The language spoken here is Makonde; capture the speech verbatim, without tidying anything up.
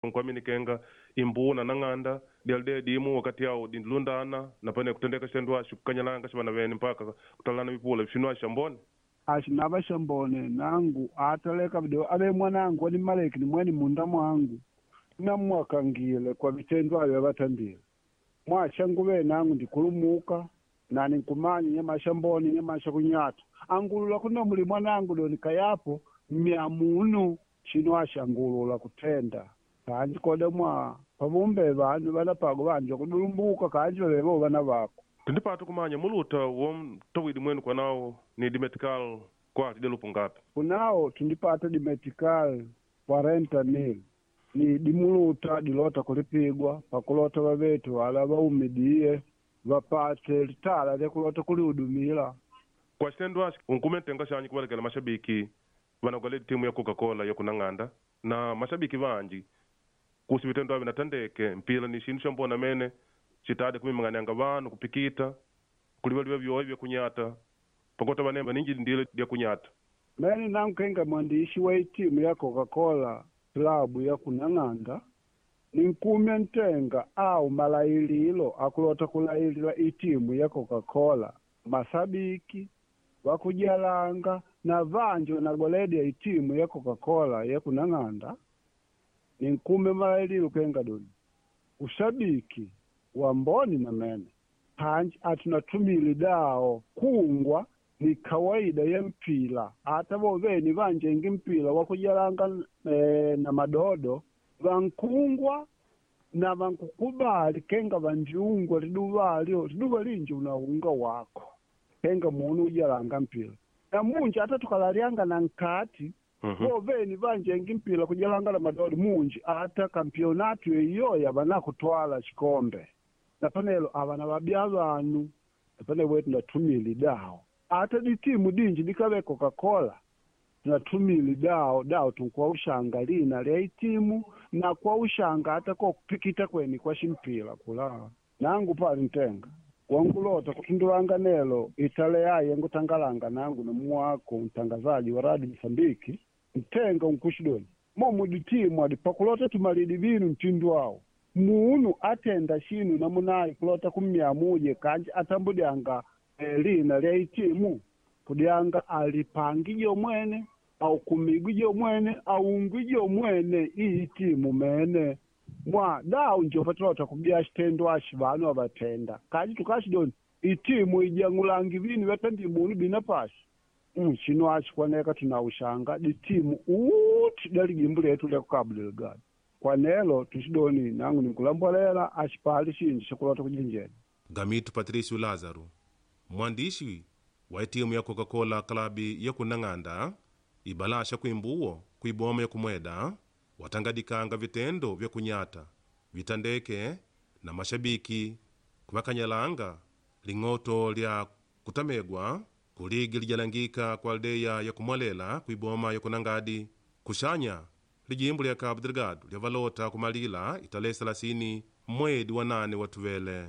Nkwaminikenga imbuna na ng'anda dialide dimu wakati awo dindilundana napane kutendeka xitendo axo kukanyalanga xivana vene mpaka kutalana vipula vixinu axo xambone. Axinava xambone nangu ataleka video ave mwanangu ani maleki ni mwene munda mwangu namwakangile kwa vitendo avyo avatandile mwashanguve nangu ndikulumuka nani nkumanya nyamasha mbone nyamasha kunyata angulula kuno muli mwanangu doni kayapo myamunu chino ashangulula kutenda kanji koda mwa pavumbe vanu vanapago vanja kudulumbuka kanji vavevo vana vako. Tindipata kumanya muluta womtowidi mwenu kwanawo ni dimetical kwati delupu ngapi? Kunao tundipata dimetical quarenta mil ni dimuluta dilota kulipigwa pakulota vavetu wala vaumidie vapate litala lyakulota kulihudumila. Kwa xitendo axo unkume ntenga xanyi kuvalekela mashabiki vanagwaledi timu ya Coca-Cola ya kunang'anda na mashabiki vanji kuhusu vitendo avi natandeke mpila ni xinu xambona mene xitade kumimang'anianga vanu kupikita kulivaliva vyoe vya kunyata pakota vane vaninji ndile lya kunyata. Mene nankenga mwandishi wa itimu ya Coca-Cola klabu ya kunang'anda ninkumya ntenga au malaililo akulota kulailila itimu ya Coca-Cola masabiki wakujalanga na vanji wanagwaledia itimu ya Coca-Cola ya kunang'anda ninkume malaililo kenga doni ushabiki wa mboni na mene panji atunatumile dao kungwa ni kawaida ya mpila ata voveni vanjengi mpila wakujalanga e, na madodo vankungwa na vankukubali kenga vanjiungwa liduva lyo liduva linji unaunga wako kenga munu ujalanga mpila na munji ata tukalalianga na nkati Mhm. voveni vanjengi mpila kujalanga na madodo munji ata kampionatu eyoya vanakutwala chikombe na panelo avana vabya vanu napane wetu natumili dao ata ditimu dinji dikave Coca-Cola tunatumili dao dao tunkuwa ushanga lina lya itimu na kwa ushanga ata ko kupikita kweni kwa shimpila kula nangu pali ntenga wangulota kutundulanga nelo itale yaye ngutangalanga nangu na muwako mtangazaji wa radio Msambiki ntenga unkushidoni momu ditimu adi pakulota tumalidi vinu mtindu awo munu atenda shinu namunayi kulota kumyamuje kanji atambudyanga eh, lina lya itimu kudyanga alipangije mwene au kumigije mwene aungwije mwene iyi timu mene mwa dau njo patulota kubya xitendo axi vanu avatenda kanji tukashidoni itimu ijang'ulangi vinu vyatandi munu bina pashi mm, xino axi kwaneka tunauxanga ditimu uti dalijimbu letu lya ku Cabo Delgado kwanelo tuxidoni nangu ninkulambolela axipali xinji xakulota kujinjena. Gamitu Patricio Lázaro mwandishi wa itimu ya Coca-Cola klabi ya kunang'anda ibalasha kuimbuwo kuiboma ya kumweda watangadikanga vitendo vya kunyata vitandeke na mashabiki kuvakanyalanga ling'oto lya kutamegwa kuligi lijalangika kwa aldeya ya kumwalela kuiboma ya kunangadi kuxanya lijimbu lya Cabo Delgado lyavalota kumalila italehe selasini mwedi wa nane watuvele.